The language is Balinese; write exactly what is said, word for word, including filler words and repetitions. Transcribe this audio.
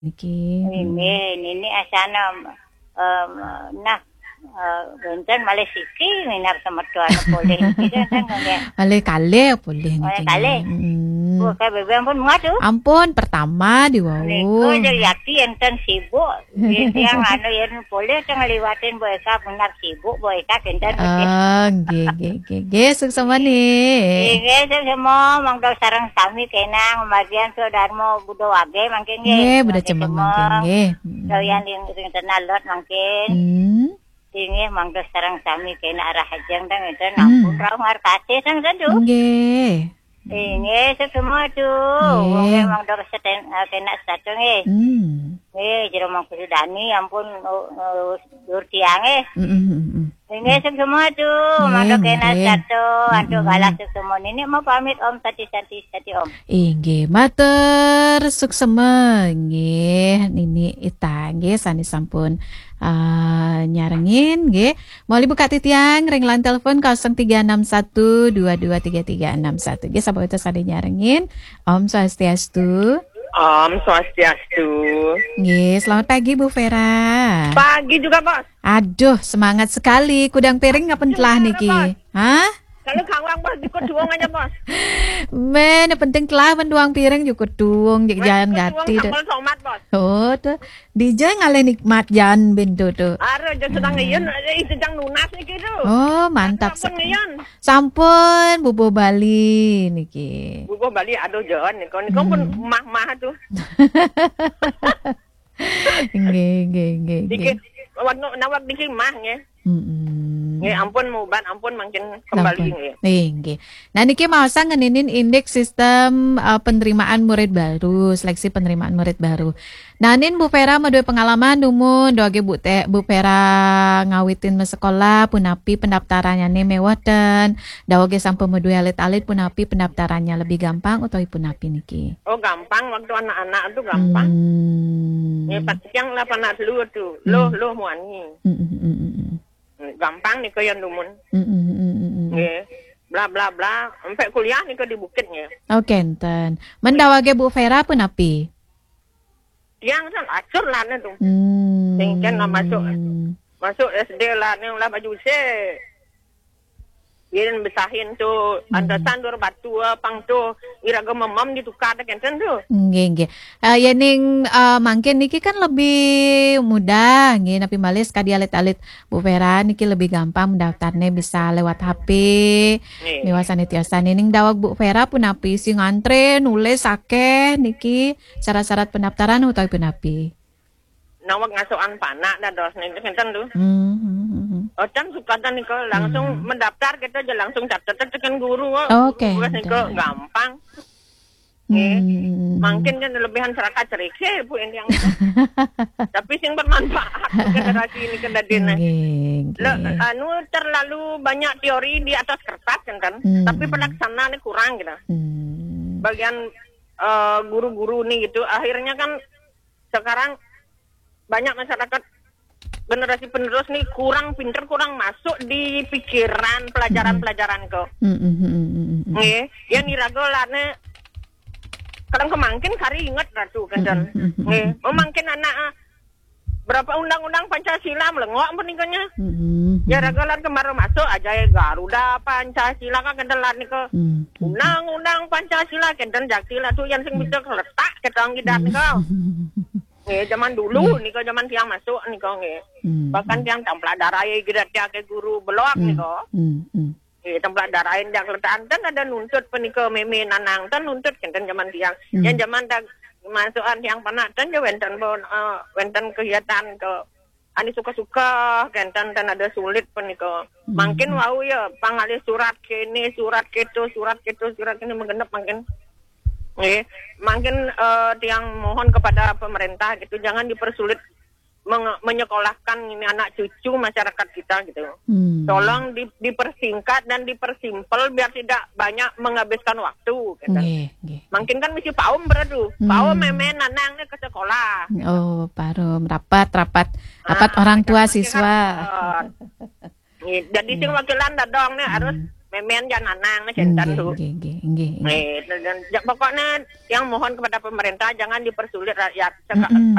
Niki. Nini, nini asana, em, nah, eh, benten malih siki minar semeton polih niki, kan, nggih. Malih kalih polih niki. Malih kalih. Mm. Bu, ka bebeng pun muat tu. Ampun, pertama di wau. Niku, Yati enten sibuk. Nggih, tiang anu yen polih teng liwatin Bu Eka benar sibuk, Bu Eka kenten. Oh, nggih, nggih, nggih, nggih, suksma nih. Nggih, suksma, monggo sareng sami kenang, bagian Sudarmo Budo Wage mangkin nggih. Nggih, Budo Cemeng mangkin nggih. Mm. Doyan ring, ring tenah lot mangkin. Hmm. Inggih, monggo sareng sami kena arah ajeng teng enten. Hmm. Ampun, rauh ngarkasih teng sedu. Nggih. Inggih, suksma tu. Nggih. Monggo, monggo seten-, eh, kena satu nggih. Hmm. Nggih, Jero Mangku Sudani, ampun, oh, oh, dur tiang nggih. Mm, mm, mm, mm. Inggih, suksma tu. Nggih, monggo kena nggih. Satu, antuk galah suksma. Nini mau pamit, Om, sati, sati, sati, Om. Inggih, matur suksma nggih, Nini Ita nggih, sane sampun, eh, nyarengin nggih. Malih buka titiang ring line telepon kosong tiga enam satu dua dua tiga tiga enam satu. Nggih, sapa itu sane nyarengin? Om Swastiastu. Om Swastiastu. Nggih, selamat pagi Bu Vera. Pagi juga, Bos. Aduh, semangat sekali. Kudang piring ngapen telah niki? Hah? Kalau kawang, Bos, jukut duwung aja, Bos. Men, penting telah men duwung piring jukut duwung, jek jalan jukut duwung gati deh. Sambel tomat, Bos. Oh, tuh. Dija ngalih nikmat jan ben tuh, tuh. Are, jan sedang ngeyun, eh, itu jang nunas niki tuh. Oh, mantap. Sampun ngeyun. Sampun, bubuh Bali niki. Bubuh Bali, aduh, jan, niku, niku pun mah-mah tuh. Nggih, nggih, nggih, nggih. Niki, nawak niki mah, nggih. Mm-mm. Nggih, ampun mubat, ampun mangkin kembali, nggih. Nggih, nggih. Nah, niki maosang ngeninin indik sistem, eh, penerimaan murid baru, seleksi penerimaan murid baru. Nah, nin Bu Vera madue pengalaman dumun, dawage Bu Te-, Bu Vera ngawitin masekolah, punapi pendaftarannyane meweh ten, dawage sampun madue alit-alit, punapi pendaftarannya lebih gampang utawi punapi niki? Oh, gampang waktu anak-anak tu gampang. Hmm. Nggih, pas tiang lah panak dulu tu. Loh, hmm. Loh, muani. Mm, mm, mm, mm, mm. Gampang nika yan dumun. Mm, mm, mm, mm, mm. Nggih. Bla, bla, bla. Sampai kuliah nika di Bukit nggih. Oh, kenten. Men dawage Bu Vera punapi? Tiang kan acur lah ne tu. Hmm. Sing kan lah masuk, masuk S D lah ne lah baju se. Yen besahin tu, hmm, antasan dur batu, eh, pang tu, iraga mamam ditukar dah kenten tu. Nggih, nggih. Eh, yening, eh, mangkin niki kan lebih mudah, nggih, napi malih sekadi alit-alit Bu Vera niki lebih gampang mendaftarne bisa lewat H P. Nggih. Miwah sane tiosan. Yening daweg Bu Vera punapi sing ngantre, nulis akeh niki syarat-syarat pendaftaran utawi punapi? Naweg ngasukan panak dados niki kenten tu. Hmm, hmm, hmm, hmm. Ocan sukatan nika langsung, hmm, mendaftar kita aja langsung catet tekan guru. Oh, oke. Tugas nika gampang. Nggih. Hmm. Mangkin kan lebihan seraka cerike, Bu, yang, yang tapi sing bermanfaat generasi ini kan dadine. Nggih, nggih. Le-, anu, terlalu banyak teori di atas kertas kan, kan. Hmm. Tapi pelaksanaan kurang gitu. Hmm. Bagian, eh, guru-guru nih gitu, akhirnya kan sekarang banyak masyarakat generasi penerus nih kurang pinter, kurang masuk di pikiran pelajaran-pelajaran ke. Mm, mm, mm, mm, mm, mm. Nggih, yang iraga lane kadang kemangkin kari inget ratu kenten. Mm, mm, mm, mm, nggih, mm, mm. Memangkin anak, ah, berapa undang-undang Pancasila melengok pun nikahnya. Mm, mm, mm. Ya raga lan kemarin masuk aja ya Garuda Pancasila kan kenten lan nika. Mm, mm, mm. Undang-undang Pancasila kenten jakti lah tu yang sing bisa keletak ketang gidat nika. Nggih, zaman dulu nika, zaman tiang masuk nika nggih. Hmm. Bahkan tiang templak darai gida tiang ke guru belok nika. Hmm, hmm. Nggih, templak darai tiang letak ten ada nuntut penika meme nanang ten nuntut kenten zaman tiang. Hmm. Yang zaman tak masukan tiang panak ten je wenten pun, eh, wenten kegiatan ke ani suka-suka kenten ten ada sulit penika. Hmm. Mangkin wau ya pangalih surat kene, surat keto, surat keto, surat kene menggenep mangkin. Nggih, mangkin, eh, tiang mohon kepada pemerintah gitu, jangan dipersulit menge-, menyekolahkan ini anak cucu masyarakat kita gitu. Hmm. Tolong di-, dipersingkat dan dipersimpel biar tidak banyak menghabiskan waktu gitu. Nggih, nggih. Mangkin kan mesti paum beradu. Hmm. Paum meme nanang ni ke sekolah. Oh, parum rapat, rapat, rapat orang tua siswa. Nggih, jadi sing wakilan dadong ni harus memen jan anang macam tu. Nggih, nggih, nggih, nggih. Eh, dan, dan, pokoknya yang mohon kepada pemerintah jangan dipersulit rakyat. Seka- Mm-mm.